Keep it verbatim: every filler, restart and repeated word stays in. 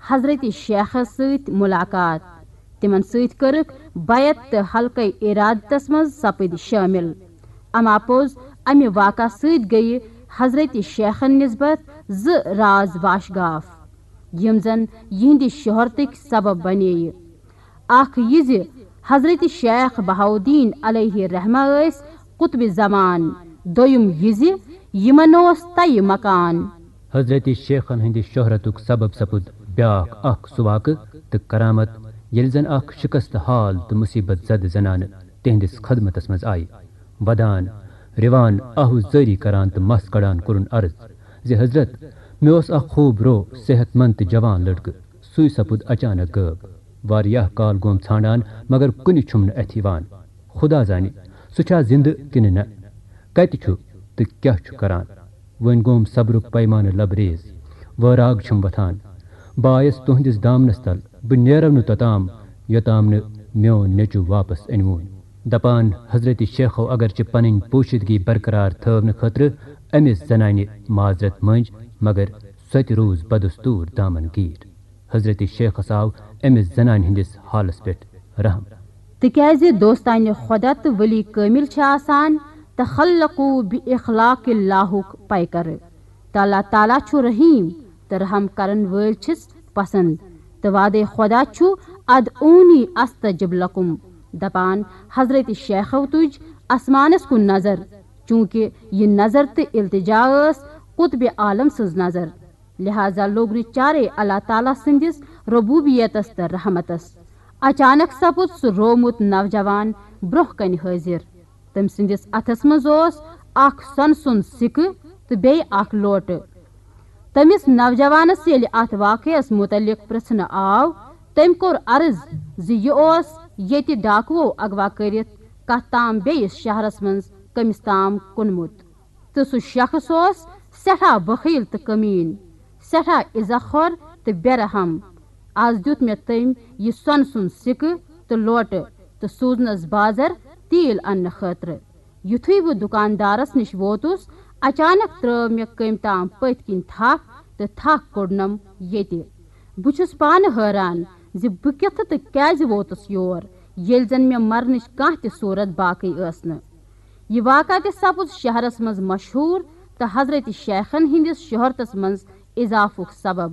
حضرت شیخس سۭتۍ ملاقات۔ تِمن سۭتۍ کٔرٕکھ بیعت تہٕ حلقہٕ ارادتس منٛز سپٕدۍ شٲمِل۔ اما پوٚز، امہِ واقعہٕ سۭتۍ گٔیہِ حضرت شیخن نسبت زٕ راز واشگاف، یِم زن یِہنٛدِ شہرتٕکۍ سبب بنے۔ اکھ یہِ زِ حضرت شیخ بہاؤالدین علیہ رحمہ ٲسۍ قطب زمان، دوٚیِم یہِ زِ یِمن اوس تیہِ مکان۔ حضرت شیخن ہٕنٛدِ شہرتُک سبب سپُد بیاکھ اکھ سُہ واقعہٕ تہٕ کرامت، ییٚلہِ زن اکھ شکست حال تہٕ مصیبت زدٕ زنانہٕ تِہنٛدِس خدمتس منٛز آیہِ۔ ودان، رِوان، آہو زٲری کران تہٕ مس کڑان کوٚرُن عرض زِ حضرت، مےٚ اوس اکھ خوب رو، صحت مند تہٕ جوان لڑکہٕ، سُے سپُد اچانک غٲب۔ واریاہ کال گوم ژھانڈان، مگر کُنہِ چھُم نہٕ اَتھِ یِوان۔ خدا زانہِ، سُہ چھا زِندٕ کِنہٕ نہ؟ کتہِ چھُ تہٕ کیاہ چھُ کران؟ وۄنۍ گوم صبرُک پیمانہٕ لبریز۔ وٲراگ چھُم وۄتھان۔ بہٕ آیس تُہنٛدِس دامنس تل، بہٕ نیرو نہٕ توٚتام، یوٚتام نہٕ میون نیٚچو واپس أنِوُن۔ دپان، حضرت شیخو اگرچہِ پنٕنۍ پوشیدگی برقرار تھٲونہٕ خٲطرٕ أمِس زنانہِ معذرت مٔنج، مگر سۄ تہِ روٗز بدستور دامن گیٖر۔ حضرت شیخس آو أمِس زنانہِ ہٕنٛدِس حالس پٮ۪ٹھ رحم۔ تِکیازِ دوستانہِ خۄدا تہٕ ولی کٲمِل چھِ آسان تخلقوا باخلاق اللہُک پیکر۔ تہٕ اللہ تعالیٰ چھُ رحیم تہٕ رحم کرن وٲلۍ چھِس پسند۔ تہٕ وعدے خۄدا چھُ، ادعونی استجب لکم، دپان، حضرت شیخو تُج آسمانس کُن نظر، چونکہ یہِ نظر تہٕ التجا ٲس قطب عالم سٕنز نظر۔ لہذا لوٚگ نہٕ چارے اللہ تعالیٰ سٕنٛدِس ربوبیتس تہٕ رحمتس۔ اچانک سپُد سُہ روومُت نوجوان برونٛہہ کنہِ حٲضِر۔ تٔمۍ سٕنٛدِس اتھس منٛز اوس اکھ سۄنہٕ سُنٛد سِکہٕ تہٕ بیٚیہِ اکھ لوٹہٕ۔ تٔمِس نوجوانس ییٚلہِ اتھ واقعس متعلق پرژھنہٕ آو، تٔمۍ کوٚر عرض زِ یہِ اوس ییٚتہِ ڈاکوو اغوا کٔرِتھ کتھ تام بیٚیِس شہرس منٛز کٔمِس تام کُنمُت۔ تہٕ سُہ شخص اوس سٮ۪ٹھاہ بخیل تہٕ کمیٖن، سٮ۪ٹھاہ عزت خور تہٕ بے رحم۔ از دیُت مےٚ تٔمۍ یہِ سۄنہٕ سُنٛد سِکہٕ تہٕ لوٹہٕ تہٕ سوٗزنس بازر تیٖل اننہٕ خٲطرٕ۔ یُتھُے بہٕ دُکاندارس نِش ووتُس، اچانک ترٲو مےٚ کٔمۍ تام پٔتۍ کِنۍ تھپھ تہٕ تھکھ کوٚڑنم ییٚتہِ۔ بہٕ چھُس پانہٕ حٲران زِ بہٕ کِتھٕ تہٕ کیازِ ووتُس یور، ییٚلہِ زن مےٚ مرنٕچ کانٛہہ تہِ صوٗرت باقٕے ٲس نہٕ۔ یہِ واقعہ تہِ سپُد شہرس منٛز مشہوٗر تہٕ حضرت شیخن ہٕنٛدِس شہرتس منٛز اضافُک سبب۔